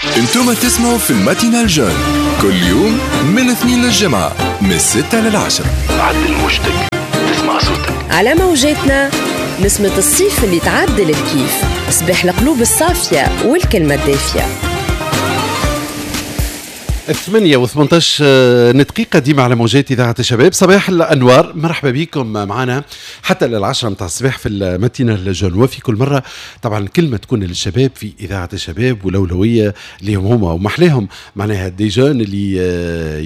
انتم تسمعوا في ال matinale jeune كل يوم من الاثنين للجمعة من 6 لل10. عدل موجتك تسمع صوتك على موجاتنا، نسمة الصيف اللي تعدل الكيف، صباح القلوب الصافية والكلمة الدافية. 8 و18 دقيقة ديما على موجات إذاعة الشباب. صباح الأنوار، مرحبا بكم معنا حتى لل10 متاع الصباح في ال matinale jeune. وفي كل مرة طبعا كلمة تكون للشباب في إذاعة الشباب والأولوية لهم هما، ومحلاهم معناها des jeunes اللي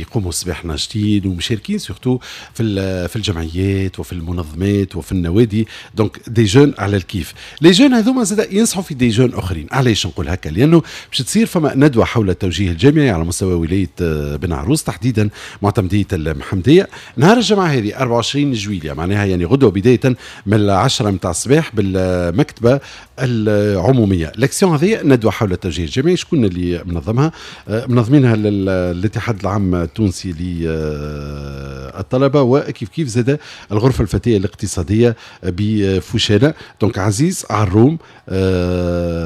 يقوموا الصباح ناشطين ومشاركين surtout في الجمعيات وفي المنظمات وفي النوادي، donc des jeunes على الكيف. les jeunes هذوما زاد ينصحوا في des jeunes اخرين. علاش نقول هكا؟ لانه باش تصير فما ندوه حول التوجيه الجامعي على مستوى ولاية بن عروس، تحديدا معتمديه المحمديه، نهار الجمعة هذه 24 جويليا، معناها يعني غدوه، بداية من 10 متاع الصباح بالمكتبة العموميه. l'action هذه، ندوه حول التوجيه الجامعي، شكون اللي منظمها؟ منظمينها الاتحاد العام التونسي للطلبة وكيف كيف زاد الغرفة الفتية الاقتصادية بفوشانه. donc عزيز عروم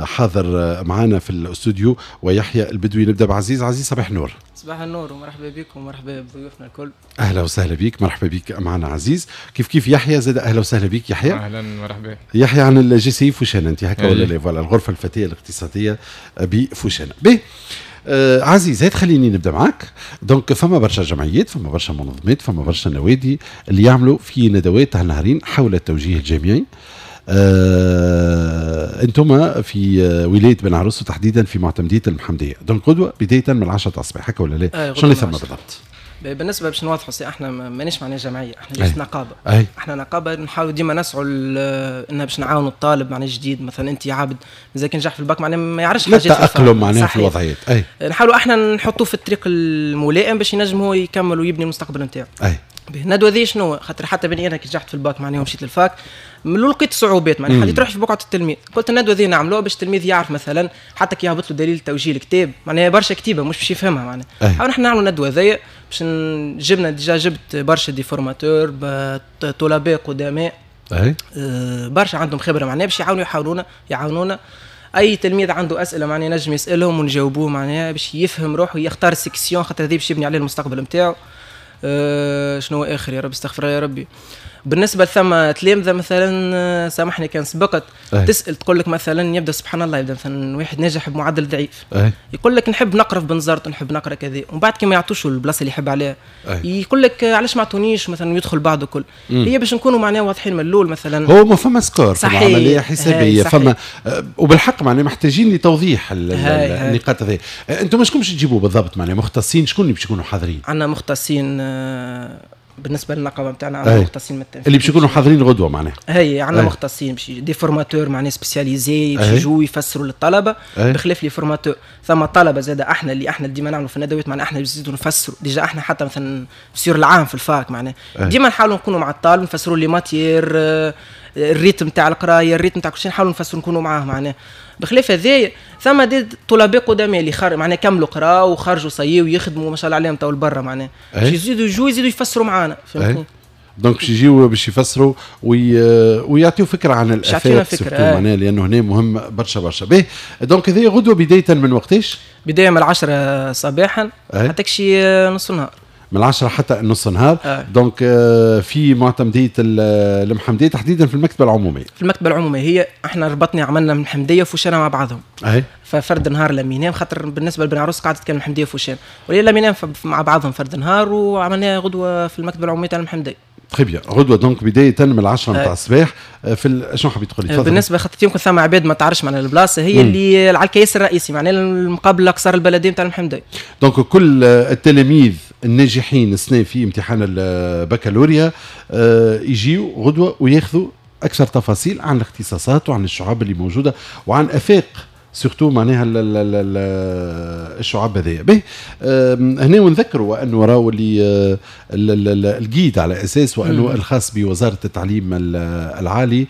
حاضر معنا في الاستوديو ويحيى البدوي. نبدا بعزيز. عزيز، صباح النور. صباح النور ومرحبا بكم ومرحبا بضيوفنا الكل. اهلا وسهلا بك، مرحبا بك معنا عزيز. كيف كيف يحيى زاد، اهلا وسهلا بك يحيى. اهلا، مرحبا. يحيى عن ال GCI فوشانه انت هكا ولا لا؟ voilà، الغرفة الفتية الاقتصادية بفوشانه. به عزيز، هات خليني نبدا معك. donc فما برشا جمعيات، فما برشا منظمات، فما برشا نوادي اللي يعملوا في ندوات هالنهارين حول التوجيه الجامعي. انتم في ولاية بن عروس وتحديدا في معتمديه المحمديه، donc غدوه بداية من 10 الصباح، هكا ولا لا؟ شنو اللي ثم بالضبط؟ بالنسبة باش نوضحوا سي، احنا مانيش معناها جمعيه، احنا juste نقابه. احنا نقابة نحاولوا ديما نسعوا ان باش نعاونوا الطالب معناها جديد. مثلا انت عابد اذا كان نجح في الباك معناها ما يعرفش حاجات التاقلم معناها في الوضعيات، اي. نحاولوا احنا نحطوه في الطريق الملائم باش ينجم هو يكمل ويبني المستقبل نتاعو. الندوة ذي شنو؟ خاطر حتى بني انا كي نجحت في الباك معناها ومشيت لل fac من الاول لقيت صعوبات، معناها حطيت روحي في بقعة التلميذ. قلت الندوة ذي نعملوها باش التلميذ يعرف، مثلا حتى كي يهبط له دليل توجيه الكتاب معناها برشا كتيبة مش باش يفهمها. معناها نحن نعملوا الندوة ذي باش جبنا déjà جبت برشا des formateurs، طلباء قدماء، برشا عندهم خبره، معناها باش يعاونوا يعاونونا. اي تلميذ عنده اسئلة معناها ينجم يسالهم ونجاوبوه، معناها باش يفهم روحه، يختار ال section، خاطر هذه باش يبني عليه المستقبل نتاعو. شنو اخر؟ يا رب، استغفر يا ربي. بالنسبة لثم تلامذه مثلا، سامحني كان سبقت، تسال تقول لك مثلا يبدا سبحان الله يبدا مثلا واحد ناجح بمعدل ضعيف، يقول لك نحب نقرا في بنزرت، نحب نقرا كذا، ومن بعد كي ما يعطوش البلاصة اللي يحب عليها يقول لك علاش ما عطونيش مثلا، يدخل بعضه كل. هي باش نكونوا معناها واضحين من الاول مثلا. هو ما فما score، فما عملية حسابيه، فما وبالحق معناها محتاجين لتوضيح النقاط هذه. انتم شكون باش تجيبوا بالضبط؟ معناها مختصين، شكون اللي باش يكونوا حاضرين؟ عندنا مختصين، بالنسبة للنقابه نتاعنا عندنا مختصين من اللي باش يكونوا حاضرين غدوه معناها. هي عندنا مختصين باش des formateurs معناها spécialisés باش يجوا يفسروا للطلبه. بخلاف les formateurs ثم طلبه زاد احنا اللي احنا ديما نعملوا في الندوات، معناها احنا نزيدوا نفسروا. déjà احنا حتى مثلا في سير العام في ال fac معناها ديما نحاولوا نكونوا مع الطالب، نفسروا les matières، ال rythme تاع القرايه، ال rythme تاع كل شيء، نحاولوا نفسروا، نكونوا معاه. معناها بخلاف هذايا ثم des طلباء قدامى اللي خر معناها كملوا قراوا وخرجوا صيوا ويخدموا ما شاء الله عليهم تو لبرا، معناها باش يزيدوا يجوا يزيدوا يفسروا معانا، فهمتني؟ donc باش يجيو باش يفسروا ويعطيو فكرة عن الافاق فكره، معناها لانه هنا مهم برشا برشا. باهي، donc هذه غدوه بداية من وقتاش؟ بداية من 10 صباحا حتى شي نص النهار. من 10 حتى نص النهار. Donc في معتمديه المحمديه، تحديدا في المكتبة العموميه. في المكتبة العموميه. هي احنا ربطنا، عملنا المحمدية وفوشانه مع بعضهم. ففرد نهار لمينام، خاطر بالنسبة لبن عروس قعدت كان المحمدية وفوشان ولا لمينام مع بعضهم فرد نهار، وعملناها غدوه في المكتبة العمومية تاع المحمديه. très bien، غدوه donc بداية من 10 نتاع الصباح في شنو حبيت تقول لي؟ بالنسبة خاطر يمكن ثم عباد ما تعرفش معناها البلاصه، هي اللي على الكياس الرئيسي، معناها المقابل القصر البلدي نتاع المحمديه. donc كل التلاميذ الناجحين السنة في امتحان البكالوريا يجيو غدوه وياخذوا اكثر تفاصيل عن الاختصاصات وعن الشعب اللي موجودة وعن افاق surtout معناها الشعب هذايا. به هنا ونذكروا انه راهو اللي ال guide على اساس وانه الخاص بوزارة التعليم العالي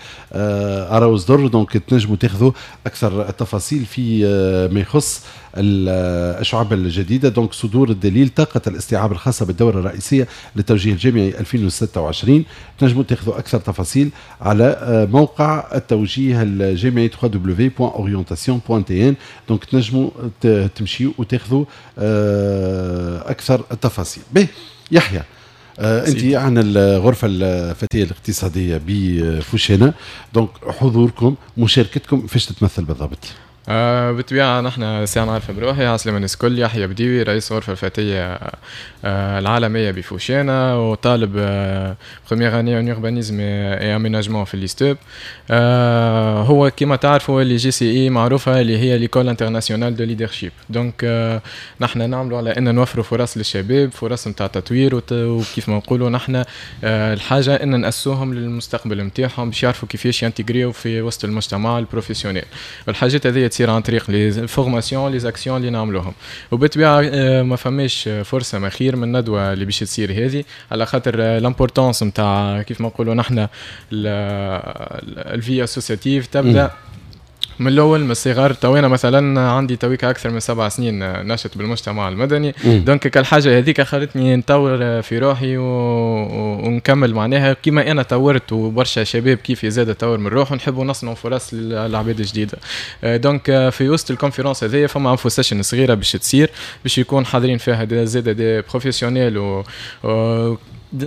راهو صدر، donc تنجموا تاخذوا اكثر التفاصيل في ما يخص الشعب الجديده. donc صدور الدليل طاقة الاستيعاب الخاصة بالدوره الرئيسية للتوجيه الجامعي 2026، تنجموا تاخذوا اكثر تفاصيل على موقع التوجيه الجامعي www.orientation. point tn. donc تنجموا تمشيوا وتاخذوا اكثر التفاصيل. به يحيى، انت عن الغرفة الفتية الاقتصادية بفوشانه، donc حضوركم مشاركتكم فاش تتمثل بالضبط؟ بالطبيعة نحن ساعة نعرف بروحي، عسلامة الناس الكل، يحيى بديوي رئيس الغرفة الفتية العالمية بفوشانة وطالب première année en urbanisme et aménagement في l'ISTEP. هو كما تعرفوا اللي JCI معروفة اللي هي l'école internationale de leadership. donc نحن نعملوا على ان نوفروا فرص للشباب، فرص نتاع تطوير، وكيف ما نقولوا نحن الحاجة ان نأسسوهم للمستقبل نتاعهم باش يعرفوا كيفاش ينتجريو في وسط المجتمع ال professionnel. والحاجات هذه تصير عن طريق les formations، les actions اللي نعملوهم. وبالطبيعه ما فماش فرصة ما خير من الندوة اللي باش تصير هذه، على خاطر l'importance نتاع كيف ما نقولوا نحن ال vie associative تبدا من الاول من الصغار. تو انا مثلا عندي تويك اكثر من 7 سنين نشط بالمجتمع المدني، donc كالحاجه هذيك خلتني نطور في روحي ونكمل معناها كيما انا طورت وبرشا شباب كيفي زاد طور من روحه، نحبوا نصنعوا فرص للعباد الجديده. donc في وسط ال conférence هذيا فما info session صغيرة باش تصير، باش يكون حاضرين فيها زاد des professionnels و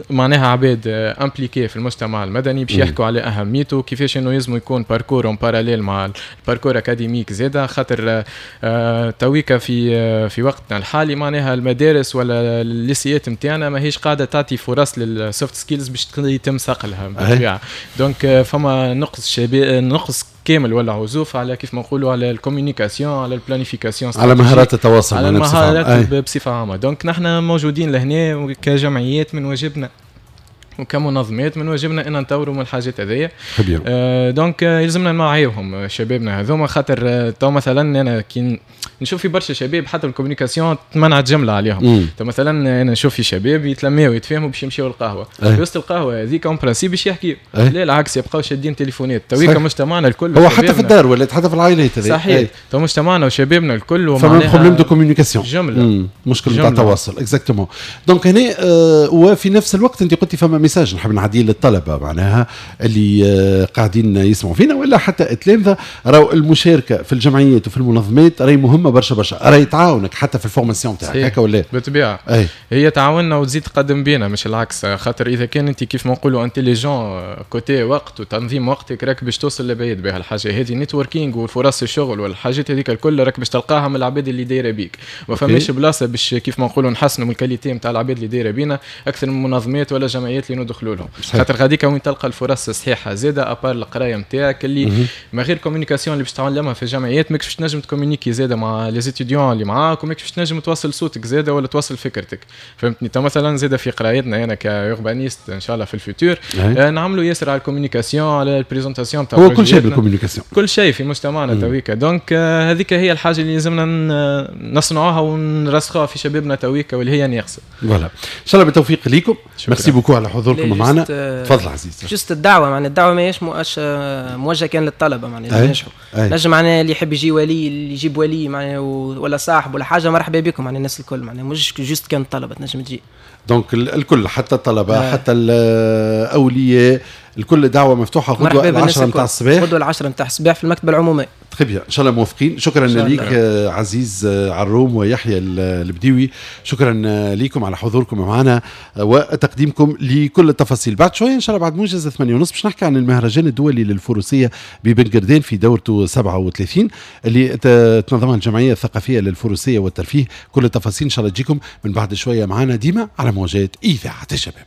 معناها عباد impliqués في المجتمع المدني باش يحكوا على اهميته، كيفاش انه يلزم يكون parcours en parallèle مع ال parcours académique زاده، خاطر تويكا في وقتنا الحالي معناها المدارس ولا الليسيات نتاعنا ماهيش قاعدة تعطي فرص لل soft skills باش يتم صقلها بالطبيعه. donc فما نقص شباب، نقص كامل ولا عزوف على كيف ما نقولوا على ال communication، على ال planification، على مهارات التواصل، على المهارات بصفة عامه. donc نحن موجودين لهنا كجمعيات من واجبنا وكمنظمات من واجبنا ان نطوروا من الحاجات هذيا. Donc يلزمنا نوعيوهم شبابنا هذوما، خاطر تو مثلا انا كي نشوف في برشا شباب حتى ال communication تمنعت جملة عليهم. تو مثلا انا نشوف في شباب يتلماو ويتفاهموا باش يمشيو للقهوه، في وسط القهوة هذيك en principe باش يحكيو، لا العكس، يبقاو شادين تليفونات. تويكا مجتمعنا الكل هو حتى في الدار ولا حتى في العائلات. صحيح، تو مجتمعنا وشبابنا الكل فما problème de communication. جمله. مشكل نتاع التواصل exactement. donc هنا وفي نفس الوقت انت قلتي فما message نحب نعديه للطلبة معناها اللي قاعدين يسمعوا فينا ولا حتى التلامذه، راهو المشاركة في الجمعيات وفي المنظمات راهي مهمة برشا برشا، راهي تعاونك حتى في ال formation تاعك، هكا ولا؟ بالطبيعه، هي تعاوننا وتزيد تقدم بينا مش العكس، خاطر اذا كان انت كيف ما نقولوا intelligent côté وقت وتنظيم وقتك راك باش توصل لبعيد بها الحاجة هذه. networking والفرص الشغل والحاجات هذيك الكل راك باش تلقاها من العباد اللي دايرة بيك. ما فماش بلاصة باش كيف ما نقولوا نحسنوا من ال qualité نتاع العباد اللي دايرة بينا اكثر من منظمات ولا جمعيات اللي ندخلوا لهم، خاطر غاديك وين تلقى الفرص الصحيحة زاده، à part القراية نتاعك اللي ما غير communication اللي باش تعلمها في الجمعيات ماكش باش تنجم تكومونيكي زاده مع les étudiants اللي معاك، وماكش باش تنجم توصل صوتك زاده ولا توصل فكرتك، فهمتني؟ تو مثلا زاده في قرايتنا انا ك urbaniste ان شاء الله في ال futur نعملوا ياسر على ال communication، على ال présentation تاع هو كل شيء بال communication. كل شيء في مجتمعنا تويكا. donc هذيك هي الحاجة اللي لازمنا نصنعوها ونرسخوها في شبابنا تويكا واللي هي ناقصه. voilà، ان شاء الله بالتوفيق ليكم. merci beaucoup على حضوركم معنا. تفضل عزيز. juste الدعوه، معناها الدعوة ماهيش موجهة كان للطلبه، معناها نجحوا نجم، معناها اللي يحب يجي ولي، اللي يجيب ولي معناها ولا صاحب ولا حاجه، مرحبا بكم. معناها الناس الكل، معناها مش juste كان الطلبة تنجم تجي. donc الكل، حتى الطلبة حتى الاولياء الكل، دعوه مفتوحه. غدوه 10 نتاع الصباح. غدوه 10 نتاع الصباح في المكتبة العموميه. très bien، ان شاء الله موفقين. شكرا لك عزيز عروم ويحيى البديوي، شكرا لكم على حضوركم معنا وتقديمكم لكل التفاصيل. بعد شوية ان شاء الله بعد موجز 8:30 باش نحكي عن المهرجان الدولي للفروسيه ببن قردان في دورته 37 اللي تنظمها الجمعية الثقافية للفروسيه والترفيه. كل التفاصيل ان شاء الله تجيكم من بعد شوية معنا ديما على موجات اذاعة الشباب.